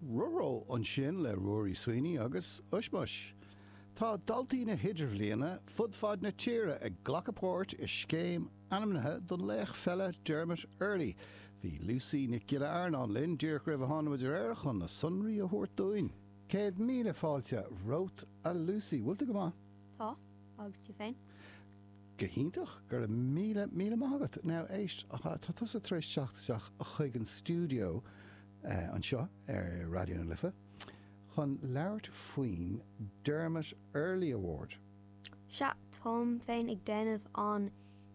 Róró ansin le Ruairí Sweeney agus Ushmush. Tá daltaí na hIdirbhliana fud fad na tíre ag glacadh páirt i scéim ainmnithe don laoch pheile Dermot Earley. Bhí Lucy Nic Giolla Earnáin linn díreach roimh a tháinig muid ar aer chun na sonraí a thabhairt dúinn. 100,000 fáilte romhat a Lucy. Bhfuil tú go maith? Tá, agus tú féin? Go hiontach, go raibh míle, míle maith agat. Now, éist, tá tusa tar éis teacht isteach chuig an stiúideo anseo ar Raidió na Life chun labhairt faoin Dermot Earley Award. Sea, táim féin ag déanamh an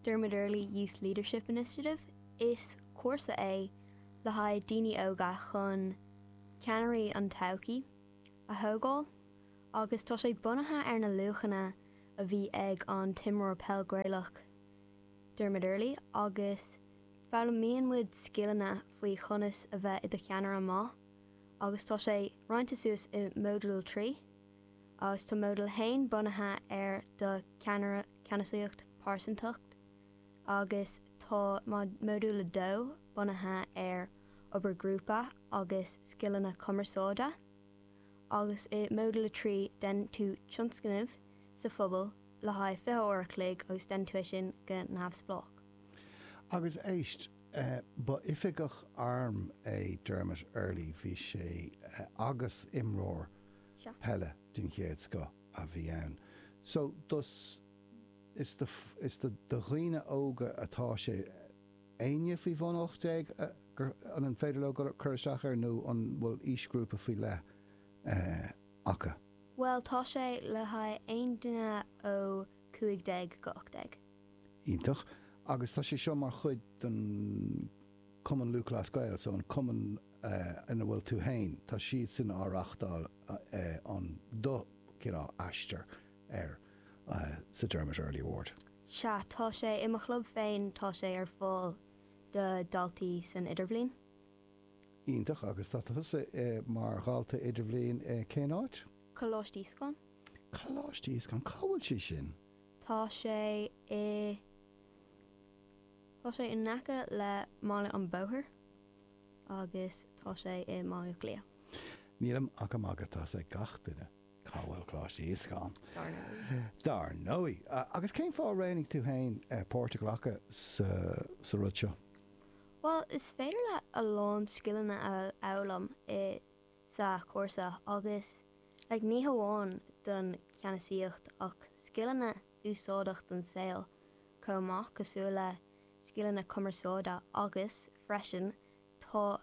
Dermot Earley Youth Leadership Initiative. Is cúrsa é le haghaidh daoine óga chun ceannairí an todhchaí a thógáil agus tá sé bunaithe ar na luachanna a bhí ag an t-imreoir peil Gaelach Dermot Earley agus foghlaimíonn muid scileanna faoi chonas a bheith i do cheannaire maith agus tá sé roinnte suas i modúl 3 agus tá modúl 1 bunaithe ar do cheannaire ceannasaíocht pearsantacht agus tá modúl 2 bunaithe ar obair grúpa agus scileanna cumarsáide. agus i Modúl 3 déanann tú tionscnamh sa phobal le haghaidh 20 uair a chloig agus déanann tú é sin go neamhspleách. Agus éist, ba oifigeach airm é Dermot Earley, bhí sé, agus imreoir peile den chéad scoth a bhí ann. So, dos, is do, is do dhaoine óga atá sé. Éinne faoi bhun 18 gur, an féidir leo cur isteach air nó an bhfuil aoisghrúpa faoi leith acu? Bhuel, tá sé le haghaidh aon duine ó 15 go 18. Iontach. Agus tá sé seo mar chuid den Cumann Lúthchleas Gael, so an cumann ina bhfuil tú féin, tá siadsan á reachtáil an do cineál aistear air sa Dermot Earley Award. Sea, tá sé i mo chlub féin, tá sé ar fáil do dhaltaí san idirbhliain. Iontach, agus tá tusa mar dhalta idirbhliain i cén áit? Coláiste Íoscáin. Coláiste Íoscáin, cá bhfuil sé sin? Tá sé i, tá sé in aice le mBaile an Bhóthair agus tá sé i mBaile Átha Cliath. Nílim ach ag magadh, tá 'fhios ag gach duine. Cá bhfuil Coláiste Íoscáin? Dar ndóigh. Dar ndóigh. Agus cén fáth a roghnaigh tú féin páirt a ghlacadh sa rud seo? Bhuel, is féidir leat a lán scileanna a fhoghlaim i sa chúrsa agus like ní hamháin don cheannasaíocht ach scileanna úsáideach don saol chomh maith cosúil le scileanna cumarsáide agus freisin tá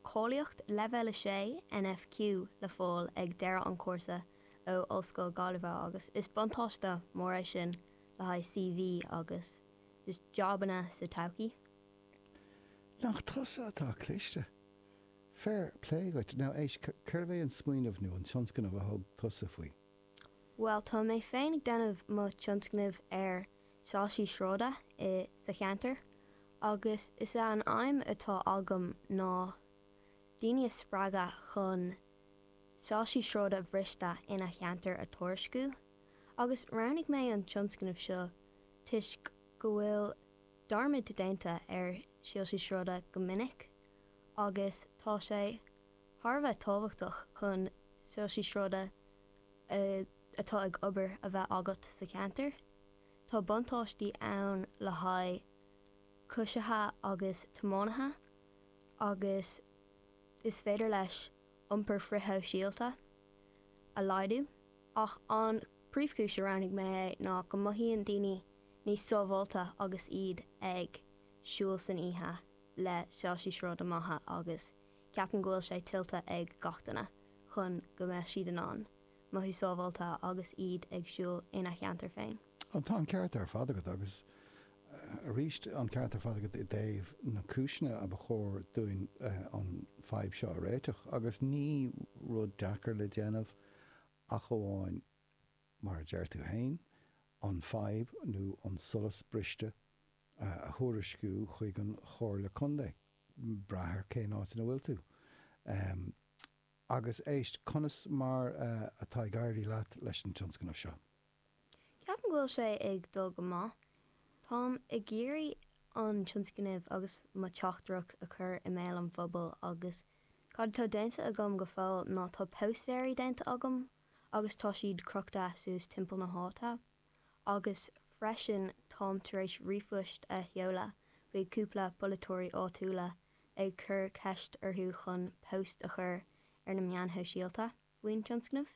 Cáilíocht Leibhéal 6 NFQ le fáil ag deireadh an chúrsa ó Ollscoil Gaillimhe agus is buntáiste mór é sin le haghaidh CV agus just jabanna sa todhchaí. Nach tusa atá cliste! Fair play dhuit. Now éist, cérbh é an smaoineamh nó an tionscnamh a thug tusa faoi? Bhuel, tá mé féin ag déanamh mo tionscnamh ar soilsí sráide i sa cheantar agus is é an aidhm atá agam ná daoine a spreagadh chun soilsí sráide bhriste ina cheantar a tuairisciú agus roghnaigh mé an tionscnamh seo toisc go bhfuil dearmad déanta ar shoilsí sráide go minic agus tá sé thar a bheith tábhachtach chun soilsí sráide atá ag obair a bheith agat sa cheantar. Tá buntáistí ann le haghaidh coisithe agus tiománaithe agus is féidir leis iompar frithshóisialta a laghdú. Ach an príomhchúis a roghnaigh mé é ná go mothaíonn daoine níos sábháilte agus iad ag siúl san oíche le soilsí sráide maithe agus Ceapaim go bhfuil sé tuillte ag gach duine chun go mbeadh siad in ann mothú sábháilte agus iad ag siúl ina cheantar féin. Tá an ceart ar fad agat agus arís an ceart ar fad agat i dtaobh na cúiseanna a ba chóir dúinn an fadhb seo a réiteach agus ní rud deacair le déanamh ach amháin mar a deir tú féin, an fadhb nó an solas briste a thuairisciú chuig an Chomhairle Contae. Brath ar cén áit ina bhfuil tú. Agus éist, conas mar atá ag éirí leat leis an tionscnamh seo? Ceapaim go bhfuil sé ag dul go maith. Táim ag iarraidh an tionscnamh agus mo teachtaireacht a chur i mbéal an phobail agus. Cad atá déanta agam go fóill ná tá póstaeirí déanta agam agus tá siad crochta suas timpeall na háite agus freisin táim tar éis ríomhphoist a sheoladh chuig cúpla polaiteoirí áitiúla ag cur ceist orthu chun post a chur ar na meáin shóisialta faoin tionscnamh.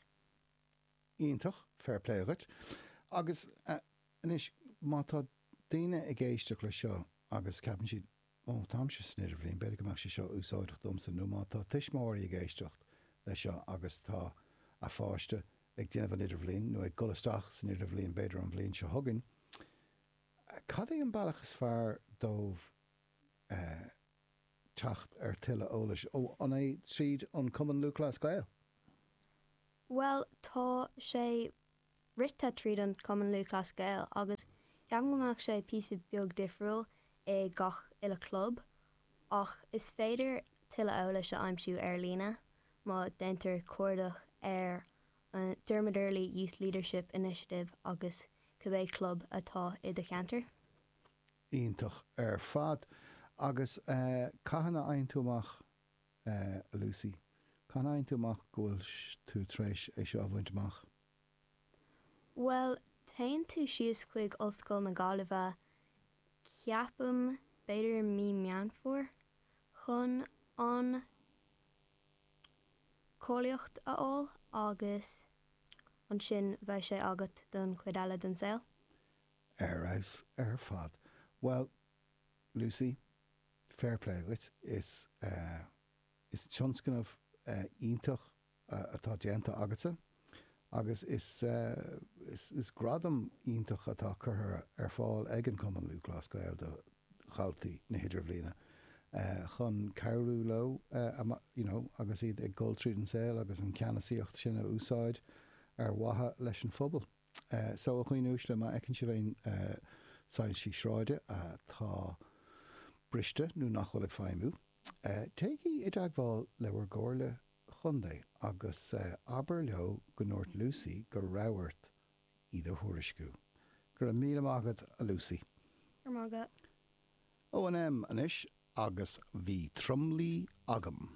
Iontach, fair play dhuit. Agus anois, má tá daoine ag éisteacht leis seo agus ceapann siad, Ó, táimse san idirbhliain, b'fhéidir go mbeadh sé seo úsáideach domsa, nó má tá tuismitheoirí ag éisteacht leis seo agus tá a pháiste ag déanamh an idirbhliain, nó ag dul isteach san idirbhliain b'fhéidir an bhliain seo chugainn, cad é an bealach is fearr dóibh teacht ar tuilleadh eolais? Ó, an é tríd an Cumann Lúthchleas Gael? Bhuel, tá sé rite tríd an Cumann Lúthchleas Gael agus ceapaim go mbeadh sé píosa beag difriúil i gach uile club ach is féidir tuilleadh eolais a aimsiú ar líne má déantar cuardach ar Dermot Earley Youth Leadership Initiative agus cibé club atá i do cheantar. Iontach ar fad. Agus cathain a fhaigheann tú amach, a Lucy, cathain a fhaigheann tú amach go bhfuil tú tar éis é seo a bhaint amach? Bhuel, téann tú síos chuig Ollscoil na Gaillimhe, ceapaim, b'fhéidir mí Meán Fómhair, chun an cáilíocht a fháil agus ansin bheidh sé agat don chuid eile den saol. Ar fheabhas ar fad. Bhuel, Lucy, fair play dhuit. Is, is tionscnamh iontach atá déanta agatsa agus is is gradam iontach atá curtha ar fáil ag an Cumann Lúthchleas Gael do dhaltaí na hIdirbhliana chun cabhrú leo you know agus iad ag dul tríd an saol agus an ceannasaíocht sin a úsáid ar mhaithe leis an phobal. So, a dhaoine uaisle, má fheiceann sibh aon soilsí sráide atá briste nó nach bhfuil ag feidhmiú, téigí i dteagmháil le bhur gcomhairle chontae agus abair leo go ndúirt Lucy go raibh ort iad a thuairisciú. Go raibh míle maith agat, a Lucy. Go raibh maith agat. ONM anois agus bhí tromluí agam.